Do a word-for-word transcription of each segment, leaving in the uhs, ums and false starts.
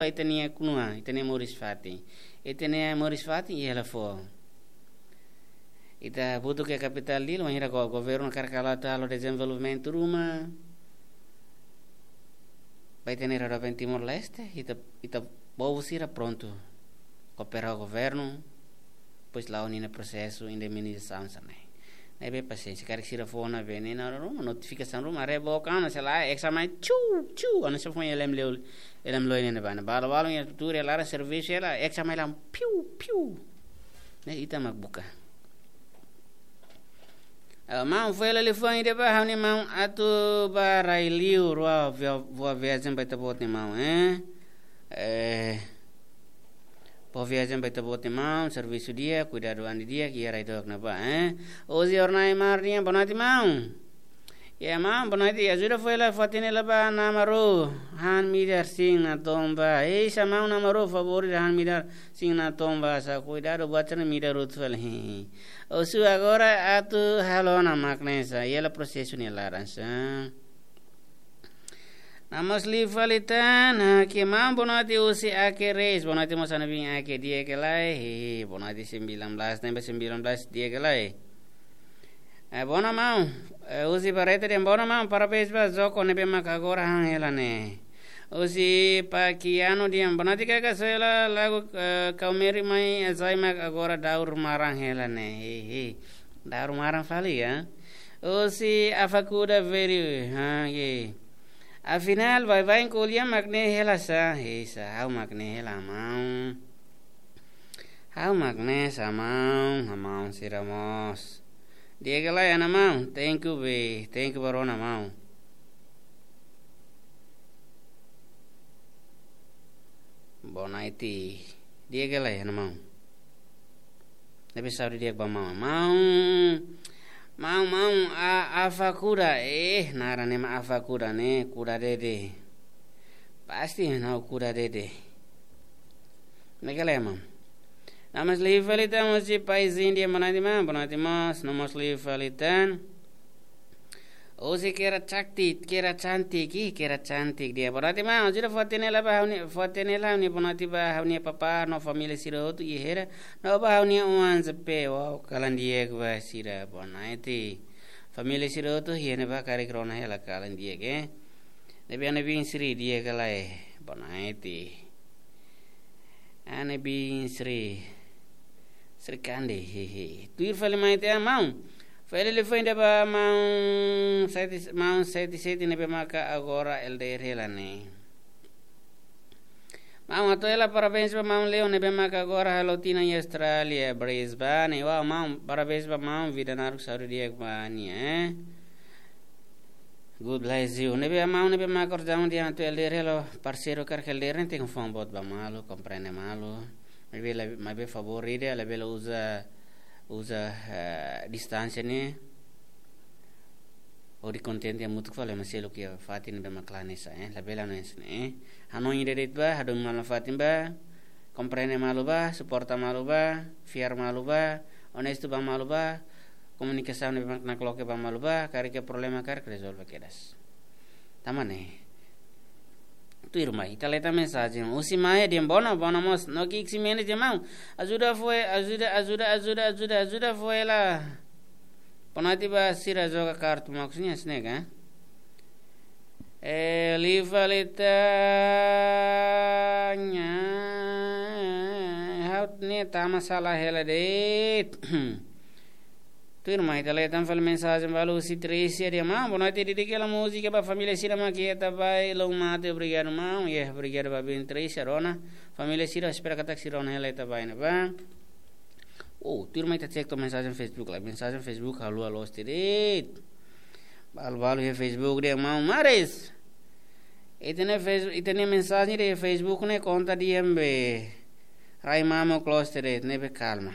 ita-nia kunua, ita-nia moris-fatin. Ita-nia moris-fatin iha hela foho. Ita butuh ke kapitál Dili, wainhira go-, governu hakarak atu halo dezenvolvimentu ruma ba ita-nia rai-rahun Timor-Leste, ita, ita povu sira prontu koopera ho governu, depois la'o ninia prosesu indemnizasaun sira-ne'e. Ne'ebé pasiénsia, karik sira fó ona bene na ruma, notifikasaun ruma, haree book ona, sei la, eksa mai, tchu, tchu, ona sei fó iha elem leu, elem loi ne'ebá ne'e. Balu-balu iha tuur iha laran servisu hela, eksa mai la, piu, piu. Ne'e ita mak buka. Ah, maun, fó hela liafuan ida ba ha'u-nia maun atu ba rai-liur, rua via-, boa viajen ba ita-boot nia maun, eh? Eh, boa viajen ba ita-boot nia maun, servisu di'ak, kuidadu an didi'ak, iha rai dook ne'ebá, eh? Ozi Ornai Mar nian, boa noite, maun. Ya, maun, boa noite, ajuda fó hela, fó hatene hela ba Ana Maru, han midar sin natoon ba. Ei, sa maun Ana Maru, favór ida, han midar sin natoon ba, sa kuidadu buat sira-ne'e midar hotu fali. Husu agora atu halo ona mak ne'e sa, iha hela prosesu nia laran sa. Namun liu fali tan, ah, ke maun, boa noite husi Ake Reis, boa noite mós Ana Bin Ake, di'ak ka lae, hehe, boa noite sembilan belas, ne'ebé sembilan belas, di'ak ka lae. Eh, boa noite maun, eh, husi Barreto dehan boa noite maun, parabéns ba Joko ne'ebé mak agora han hela ne'e. Husi Pakiano dehan boa noite kaka, soe hela lagu, eh, Kau Meri mai, eh, sai mak agora daur maran hela ne'e. Hehe. Daur maran fali ya. Husi Afakuda Veri, ha, ye. Afinál, baibain ko'alia mak ne'e hela sa, he sa, ha'u mak ne'e hela maun. Ha'u mak ne'e sa maun, ha maun sira mós. Di'ak ka lae Ana maun, thank you be, thank you ba rona maun. Boa noite. Di'ak ka lae Ana maun. Ne'ebé saúde di'ak ba maun. Maun, maun, maun, a, Afakuda, eh, naran ne'e mak Afakuda ne'e, kuda dede. Pasti ha'u kuda dede. Ne'e ka lae maun. Namun liu fali tan husi Paizinho dehan boa noite maun, boa noite mós, namun liu fali tan. Husi Kera Cantik, Kera Cantik, ih, Kera Cantik dehan boa noite maun, ajuda fó hatene hela ba ha'u-nia, fó hatene hela ha'u-nia boa noite ba ha'u-nia papá no família sira hotu iha Hera, no ba ha'u-nia oan Zepe, wow, kalan di'ak ba sira, boa noite. Família sira hotu iha ne'ebá, karik rona hela kalan di'ak, eh. Ne'ebé Ana Bin Sri, di'ak ka lae, boa noite. Ana Bin Sri. Sri Kandi, hehe. Tuir fali mai tiha maun. Fó hela liafuan ida ba maun sete, maun sete sete ne'ebé maka agora L D R hela ne'e. Maun, hato'o hela parabéns ba maun Leo ne'ebé maka agora halo tinan iha Austrália, Brisbane. Wow, maun, parabéns ba maun, vida naruk, saúde di'ak ba nia, eh. God bless you. Ne'ebé maun ne'ebé mak kordang dehan atu L D R hela, parseiru karik L D R ne'e tenke fó an boot ba malu, komprende malu. Maibé la, maibé favór ida, labele uza, uza, eh, distánsia ne'e hodi kontente hamutuk fali ema seluk iha fatin ne'ebé mak laran ne'e sa, eh. Labele hanesan ne'e, eh. Hanoin ida de'it ba, hadomi malu nafatin ba, komprende malu ba, suporta malu ba, fiar malu ba, onestu ba malu ba, komunikasaun ne'ebé mak nakloke ba malu ba, karik iha problema karik rezolve kedas. Tanba ne'e. Tuirmai, ita lee tan mensajen. Husi Maia dehan boa noite, boa noite mós. No Kik Ximenes dehan maun, ajuda fó, ajuda, ajuda, ajuda, ajuda, ajuda fó hela. Boa noite ba sira joga kartu, maksudnya snack, eh? Eh, liu fali tan, ha'u ne'e tama sala hela de'it. Tuirmai, ita lee tan fali mensajen balu husi Tricia dehan maun, boa noite, dedika hela múzika ba família sira mak iha Itabaí, Loumate, obrigadu maun. Iha, obrigadu ba biin Tricia, rona. Família sira, espera katak sira rona hela Itabaí ne'ebá. Oh, tuirmai, ita cek to'o mensajen Facebook lai. Mensajen Facebook haluha loos tiha de'it. Balu-balu iha Facebook dehan maun, maris. Ita-nia Face-, ita-nia mensajen iha Facebook ne'e konta dehan be rai mamuk loos tiha de'it, ne'ebé kalma.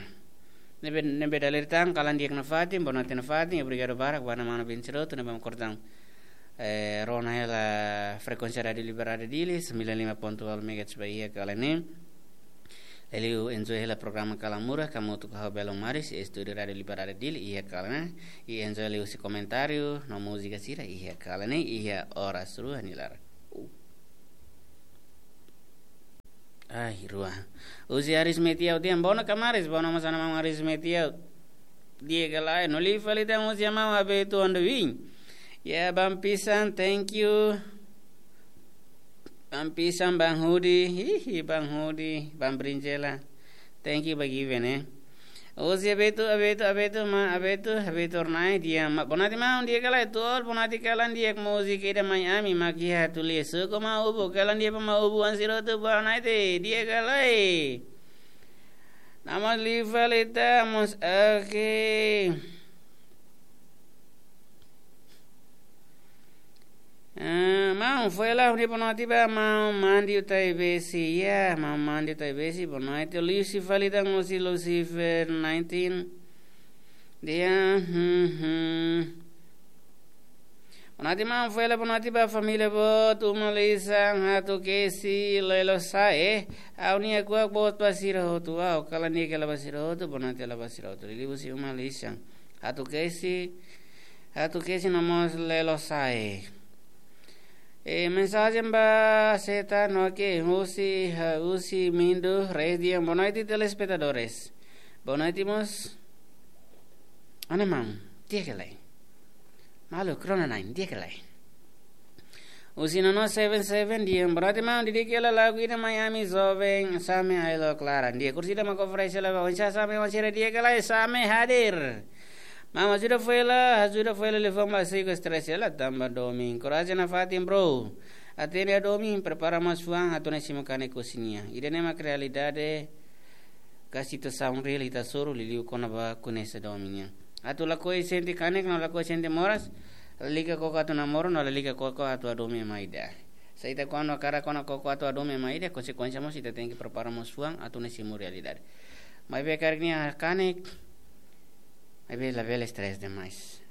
Ne'ebé, ne'ebé dala ida tan, kalan di'ak nafatin, boa noite nafatin, obrigadu barak ba Ana Manu Bin Siroto ne'ebé mak kordang, eh, rona hela frekuénsia Rádiu Liberdade Dili, sembilan lima ponto nol megahertz ba iha kalan ne'e. Liuliu enjoy hela programa Kalamurra, hamutuk ho Belo Maris, estúdiu Rádiu Liberdade Dili, iha kalan ne'e. I enjoy liuhusi komentáriu no múzika sira iha kalan ne'e, iha oras rua nia laran. Uh. Ai, rua. Husi Aris Metiau tiha, bono kamaris, bono mós ana maun Aris Metiau. Di'ak ka lae, no liu fali tan husi ana maun Abeto Andowin. Ya, Bang Pisan, thank you. Bang Pisan, Bang Hudi, hihi, Bang Hudi, Bang Brinjela. Thank you ba given, eh. Husi Abeto, Abeto, Abeto, ma, Abeto, Abeto Ornai, di'ak, ma, bonaiti maun, di'ak ka lae, tuul, bonaiti kalan di'ak múzika ida mai ami, mak iha tulis, suku ma ubu, kalan di'ak ba ma ubu, ansiro tu, bonaiti, di'ak ka lae. Nama liu fali tan mós, oke. Ah, maun, foin hela ha'u-nia bonaiti ba maun Mandi Utaibesi, ya, maun Mandi Utaibesi, bonaiti Lucy fali tan husi Lucifer nineteen. Di'ak, hmm, hmm. Bonaiti maun, foin hela bonaiti ba família boot, uma lisan, Hatu Kesi, Lelo Sae, ha'u-nia kuak boot ba sira hotu, ha'u kalan di'ak hela ba sira hotu, bonaiti hela ba sira hotu. Liuliu husi uma lisan. Hatu Kesi, Hatu Kesi no mós Lelo Sae. E, mensajen ba seta no ke husi, ha, husi Mindu, Reis di'ak, bonaiti telespetadores. Bonaiti mós, ana maun, di'ak ka lae. Malu, Corona nine, di'ak ka lae. Husi Nono seven seven di'ak, bonaiti maun, di'ak ka lae lagu ida mai ami joven, Same Ailo Clara. Di'ak, orsida mak oferese hela ba, oinsá Same, oinsá di'ak ka lae, Same hadir. Maun, ajuda foin hela, ajuda foin hela liafuan ba siku stress hela, tanba domin. Korajen nafatin, bro. Atende domin, prepara mós fuan, atu nune'e simu kanek husi nia. Ida-ne'e mak realidade, ka situasaun reál ita hasoru, liuliu kona-ba koñese domin nian. Atu lakohi sente kanek, no lakohi sente moras, lalika koko atu namoro, no lalika koko atu hadomi ema ida. Se ita kuandu hakarak kona koko atu hadomi ema ida, konsekuénsia mós ita tenke prepara mós fuan, atu nune'e simu realidade. Maibé karik nia kanek, maibé labele stress demais.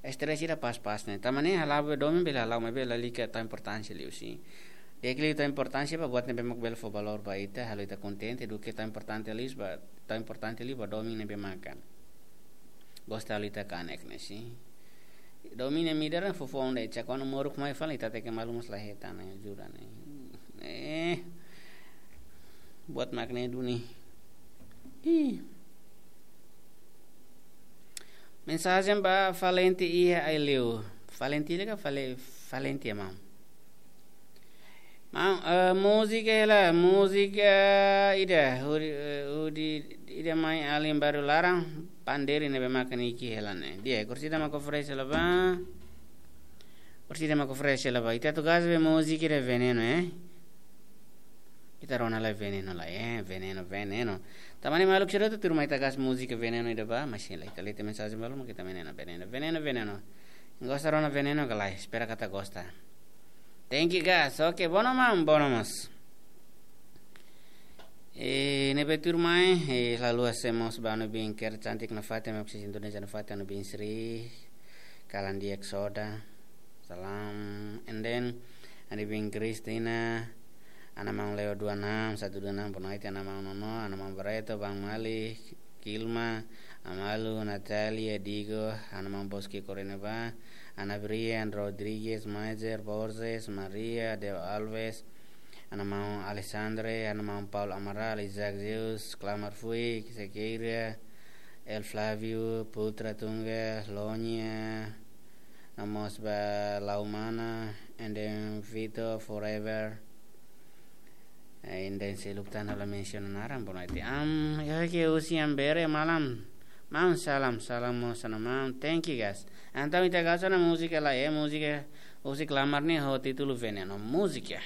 Stress ida pas-pas ne'e. Tanba ne'e hala'o be domin bele hala'o, maibé lalika tau importánsia liu, sin. Di'ak liu tau importánsia ba buat ne'ebé mak bele fó valór ba ita, halo ita kontente, duké tau importante liu ba, tau importante liu ba domin ne'ebé maka gosta halo ita kanek ne'e, sin. Domin ne'e midar fofo onde, cak kuandu moruk mai fali ita tenke malu mós la hetan ne'e, jura ne'e. Eh. Buat mak ne'e duni. Ih. Mensajen ba Valenti iha Aileu. Valenti ka Vale-, Valenti ya, maun. Maun, eh, múzika hela, múzika ida, hudi, eh, hudi ida mai alin baru laran, pandeiro ne'ebé maka nia ki'ik hela ne'e. Di'ak, orsida mak oferese hela ba. Orsida mak oferese hela ba. Ita atu gás be múzika ida Veneno, eh. Ita rona lai Veneno lai, eh, Veneno, Veneno. Tanba ne'e maluk sira hotu tuirmai ita gás múzika Veneno ida ba, mas ita lete mensajen balu mak ita Veneno, Veneno, Veneno, Veneno. Gosta rona Veneno ka lae, espera katak gosta. Thank you, guys. Oke, bono maun, bono mós. Eh, ne'ebé tuirmai, eh, lalu ase mós ba Anu Bin Ker cantik nafatin, mak sisi Indonesia nafatin, Anu Bin Sri, kalan di'ak soda. Salam. And then, Anu Bin Kristina, ana maun Leo dua enam, satu dua enam, bonaiti, ana maun Nono, ana maun Barreto, Bang Mali, Kilma, Amalu, Natalia, Digo, ana maun Boski Koreneba, Ana Brian, Rodrigues, Maiser, Borges, Maria, Deo Alves, ana maun Alexandre, ana maun Paul Amaral, Isaac Zeus, Clamar Fui, Sequeira, El Flavio, Putra Tunga, Lonia, no mós ba Laumana, and then Vito Forever, eh, and then seluk tan ha'u la mensiona naran, bonaiti. Am, ya ke husi Ambere malam. Maun salam, salam mós ana maun. Thank you, guys. Entaun ita gás ona múzika lai, eh, múzika husi Clamar ne'e ho títulu Veneno. Múzika.